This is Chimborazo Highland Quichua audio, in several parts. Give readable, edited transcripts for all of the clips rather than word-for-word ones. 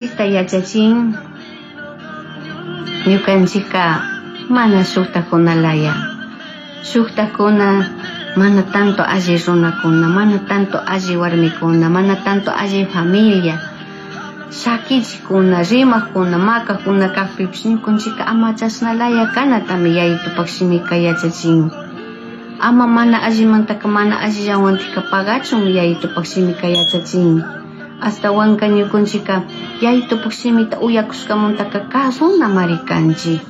Yachachin ñukanchikka mana shuktakunalaya, shuktakuna mana tanto alli runakuna, mana tanto alli warmikuna, mana tanto alli familia, shakichikuna, rimakuna, makakuna kakpipish ñukanchikka ama chashnalaya kanatami Yayitupak shimika yachachin. Ama mana allimantaka mana allillawantika pagachun Yayitupak shimika yachachin. Ashtawanka ñukanchikka Yayitupak shimita uyakushkamantaka kasunamari kanchik.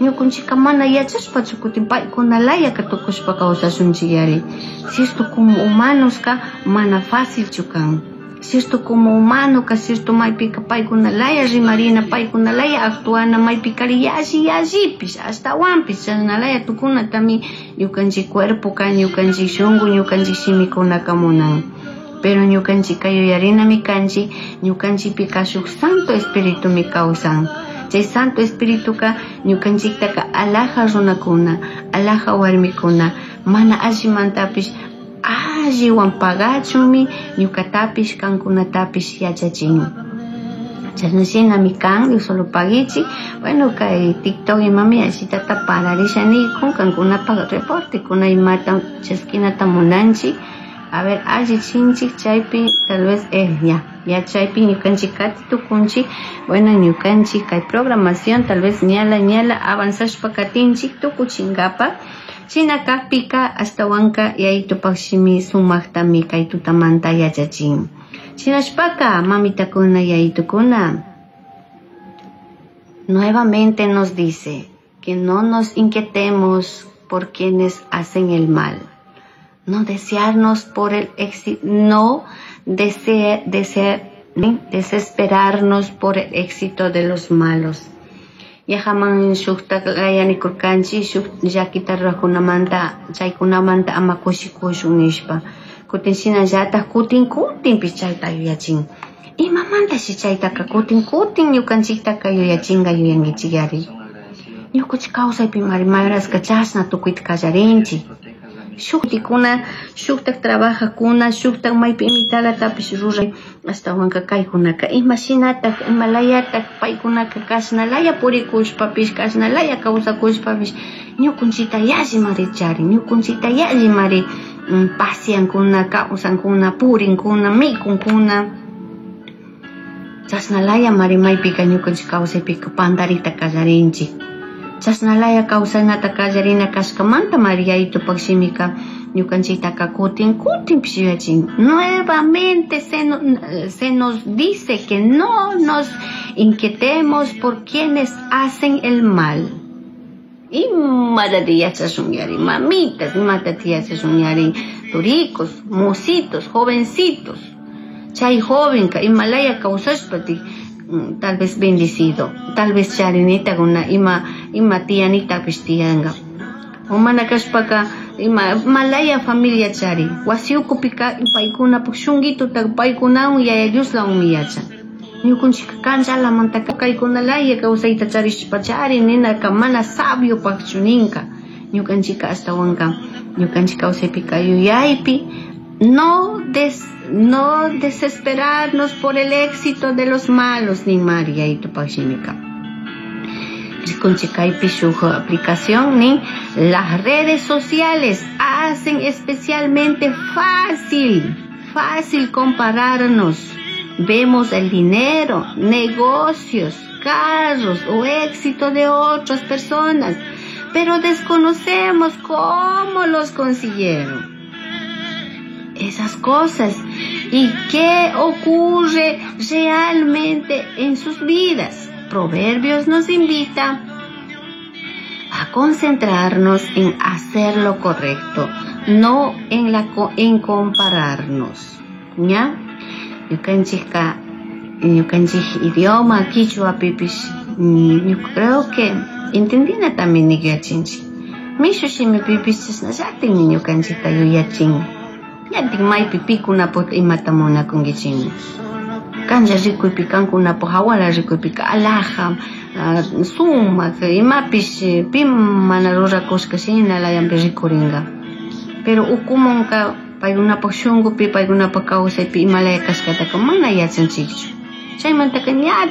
Ñukanchikka mana yachashpachu kutin paykunalayaka tukushpa kawsashunchik. Cierto, como humanoska mana facilchu kan. Cierto, como humanoka, cierto, maypika paykunalaya rimarina, paykunalaya actuana, maypikari yalli yallipish, ashtawanpish chashnalaya tukunatami ñukanchik cuerpoka, ñukanchik shunku, ñukanchik shimikunaka munan. Pero ñukanchikka yuyarinami kanchik, ñukanchikpika shuk Santo Espiritumi kawsan. Chay Santo Espirituka ñukanchiktaka alaja runakuna, alaja warmikuna, mana allimantapish alliwan pagachunmi ñukatapish kankunatapish yachachin. Chashna shinami kan, Dios solo paguichik. Bueno, kay TikTok imami allitata pararisha nikun, kankunapak reportekuna imata chaskinata munanchik. A ver, allichinchik chaypi tal vez ya, ya chaypi ñukanchik kati tukunchik. Bueno, ñukanchik kay programación tal vez ñala ñala avanzashpa katinchik tukuchinkapak. Shina kakpika ashtawanka Yayitupak shimi sumaktami kay tutamanta yachachin. Shinashpaka mamitakuna yayitukuna nuevamente nos dice que no nos inquietemos por quienes hacen el mal. No desearnos por el éxito, no desesperarnos por el éxito de los malos. Yajaman shuktak layanikurkanchik shuk llakita rurakunamanta chaykunamanta ama kushikushun nishpa. Kutin shinallatak kutin kutinpish chayta yuyachin. Imamantashi chaytaka kutin kutin ñukanchiktaka yuyachinka yuyankichikyari. Ñukanchik kawsaypimari mayorashka chashna tukuyta kallarinchik. Shuktikuna, shuktak trabajakuna, shuktak maypi imitalatapish ruray, ashtawanka kaykunaka imashinatak, imalayatak paykunaka kashnalaya purikushpapish, kashnalaya kawsakushpapish, ñukunchita yallimari charin, ñukunchita yallimari pasiankuna, kawsankuna, purinkuna, mikunkuna. Chashnalaya mari maypika ñukanchik kawsaypika pandarita kallarinchik. Chashnalaya kawsanata kallarina kashkamanta mari Yayitupak shimika ñukanchiktaka kutin kutinpish yuyachin. Nuevamente se nos dice que no nos inquietemos por quienes hacen el mal. Imatati yachashun yari, mamitas, imatati yachashun yari, turicos, mocitos, jovencitos. Chay jovenka imalaya kawsashpati tal vez bendecido, tal vez charinita kuna ima ima tiyanitapish tiyanka. O mana kashpaka ima malaya familia chari, wasi ukupika paykunapak shunkituta paykunawan Yaya Dioslawanmi yachan. Ñukanchik kanchalamantaka kaykunalaya kawsayta charishpa chari ninaka mana sabiopakchu ninka. Ñukanchikka ashtawanka ñukanchik kawsaypika yuyaypi no desesperarnos por el éxito de los malos, ni mari Yayitupak shimika. Rikunchik kaypi shuk aplicación nin las redes sociales hacen especialmente fácil compararnos. Vemos el dinero, negocios, carros o éxito de otras personas, pero desconocemos cómo los consiguieron esas cosas y qué ocurre realmente en sus vidas. Proverbios nos invita a concentrarnos en hacer lo correcto, no en compararnos. ¿Ya? Ñukanchikka, ñukanchik idioma quichuapipish, yo creo que entendinatami yuyachinchik. Mishu shimipipish chashnallatikmi ñukanchikta yuyachin. Ñatik maypi pikunapak imata munakunkichikmi. Kanlla rikuypi kankunapak hawala rikuypika alaja, sumak, imapish pi mana rurakushka shinalayanpi rikurinka. Pero ukumunka paykunapak shunkupi, paykunapak kawsaypi imalaya kashkataka mana yachanchikchu. Chaymantaka ña.